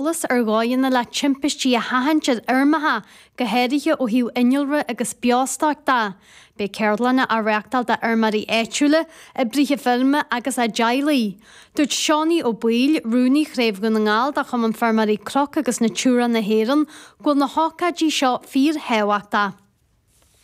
Eolas ar dhóigheanna le timpistí a sheachaint ar fheirmeacha, go háirithe ó thaobh innealra agus beostoic de. Beidh ceardlanna á reáchtáil d'fheirmeoirí áitiúla, oibrithe feirme agus a dteaghlaigh. Dúirt Seánie Ó Baoill, Rúnaí Chraobh Dhún na nGall de Chumann Feirmeoirí Cnoc agus Natura na hÉireann, go bhfuil na hócáidí seo fíorthábhachtach.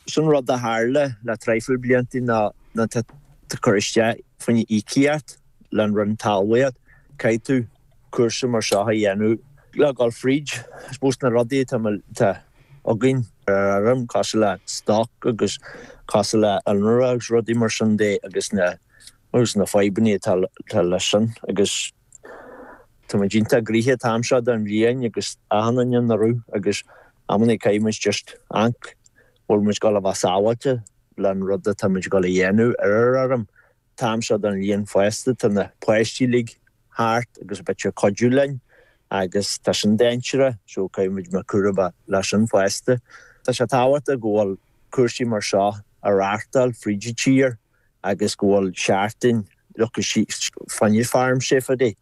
Sin rud a tharla le traidhfil blianta ná nuair atá tú ag cur isteach fá choinne íocaíocht le an Roinn Talmhaíocht, caithfidh tú cúrsa mar seo a dhéanamh le dhul fríd, I suppose, na rudaí atá atá againn ar an fheirm, cosúil le stoc agus cosúil le innealra agus rudaí mar sin de agus na agus na fadhbanna atá atá leis sin agus Tá muid iontach gnoitheach an t-am seo den bhliain agus achan duine ina rith agus amannaí caithfidh muid just amharc bhfuil muid ag dul a bheith sábháilte le an rud atá muid ag dul a dhéanamh ar ar fheirm. An t-am seo den bhliain fosta tá na páistí uilig thart agus beidh siad ag cuidiú linn agus tá sin dainséarach so caithfidh muid bheith cúramach leis sin fosta. Tá sé tábhachtach go bhfuil cúrsaí mar seo á reáchtáil fríd an tír. agus go bhfuil seachtain look fá choinne farm safety.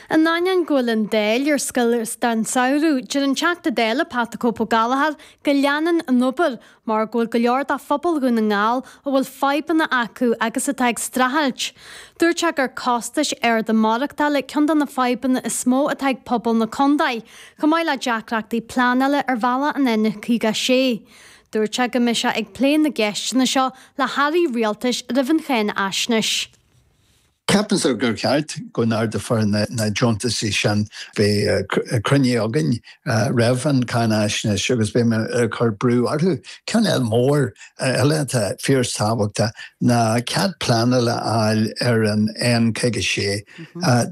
In ainneoin go bhfuil an Dáil ar scor don samhradh, deir an Teachta Dála Pat 'The Cope' Ó Gallchóir go leanann an obair mar go bhfuil go leor de phobal Dhún na nGall a bhfuil fadhbanna acu agus atá ag streachailt. Dúirt sé gur costais arda maireachtála ceann de na fadhbanna is mó atá ag pobal na contae, chomh maith le deacrachtaí pleanála ar bhealach an N56. Dúirt sé go mbeidh sé ag plé na gceisteanna seo le hairí rialtais roimh an cháinfhaisnéis. Ceapaimse gur cheart go n-ardófar na deontaisí sin. Beidh cruinniú againn roimh an cháinfhaisnéis agus beidh mé ag cur brú orthu. Ceann eile mór eile atá fíorthábhachtach ná cead pleanála a fháil ar an N56.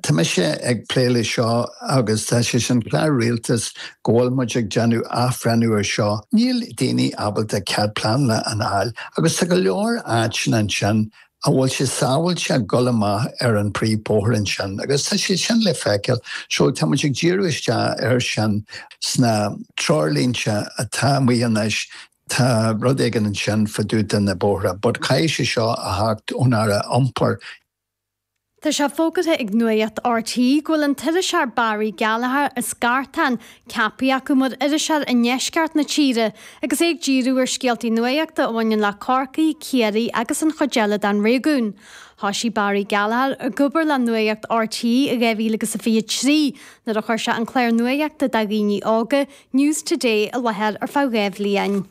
Tá mise ag plé leis seo agus tá sé san chlár rialtais go bhfuil muid ag déanamh athbhreithniú ar seo. Níl daoine ábalta cead pleanála a fháil agus tá go leor áiteanna ansin a bhfuil sé sábháilte ag dul amach ar an príomhbhóthar ansin agus tá sé sin le feiceáil. So tá muid ag díriú isteach air sin sna treoirlínte atá amuigh anois. Tá rud éigin ansin fá dtaobh de na bóithre but caithfidh sé seo a theacht ón Aire Iompair. Tá sé fógartha ag Nuacht RTÉ go bhfuil an t-iriseoir Barry Gallagher as Gartán ceaptha acu mar iriseoir i ndeisceart na tíre agus é ag díriú ar scéaltaí nuachta a bhaineann le Corcaigh, Ciarraí agus an chuid eile den réigiún. Thoisigh Barry Gallagher ag obair le Nuacht RTÉ i 2023 nuair a chuir sé an clár nuachta do dhaoine óga, News Today, i láthair ar feadh 2 bhliain.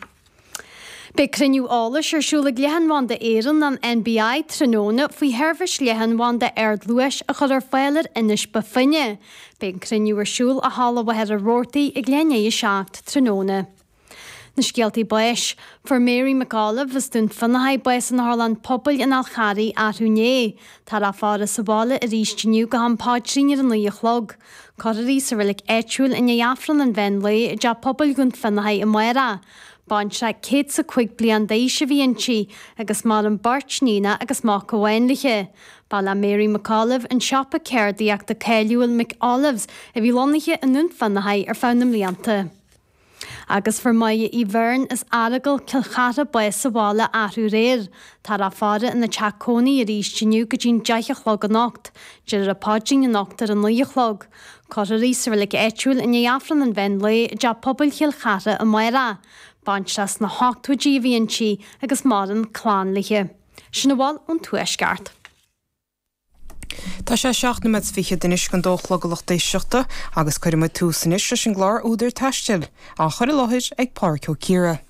Beidh cruinniú eolais ar siúl ag Leathanbhanda Éireann, an NBI, tráthnóna faoi sheirbhís leathanbhanda ardluais a chur ar fáil ar Inis Bó Finne. Beidh an cruinniú ar siúl i Halla Mhachaire Rabhartaigh ag leath i ndiaidh 7 tráthnóna. Na scéaltaí báis. Fuair Mary McAuliffe as Dún Fionnachaidh bás in Otharlann Pobail an Fháil Charraigh arú inné. Táthar á faire sa bhaile arís inniu go ham paidrín ar a 9 a chlog. Cuirfear í sa reilig áitiúil i ndiaidh Aifreann an mheán lae i dTeach Pobail Dhún Fionnachaidh amárach. Baintreach 105 bliain d'aois a bhí inti agus maireann beirt níonacha agus mac amháin léi. Ba le Mary McAuliffe an siopa ceardaíochta cáiliúil McAuliffe's a bhí lonnaithe i nDún Fionnachaidh ar feadh na mblianta. Agus fuair Máire Uí Bheirn as Earagail, Cill Chartha bás sa bhaile arú aréir. Táthar á faire ina teach cónaí arís inniu go dtí'n 10 a chlog anocht. Déarfar an paidrín anocht ar a 9 a chlog. Cuirfear í sa reilig áitiúil i ndiaidh Aifreann an mheán lae i dTeach Pobail Chill Chartha amárach. Baintreach sna hochtóidí a bhí inti agus maireann clann léi. Sin a bhfuil ón Tuaisceart. Tá sé 7 nóiméad is fichead anois don dó a chlog a lucht éisteachta agus cuirfidh muid tús anois leis an gclár Údar Taistil, á chur i láthair ag Pádraic Ó Ciardha.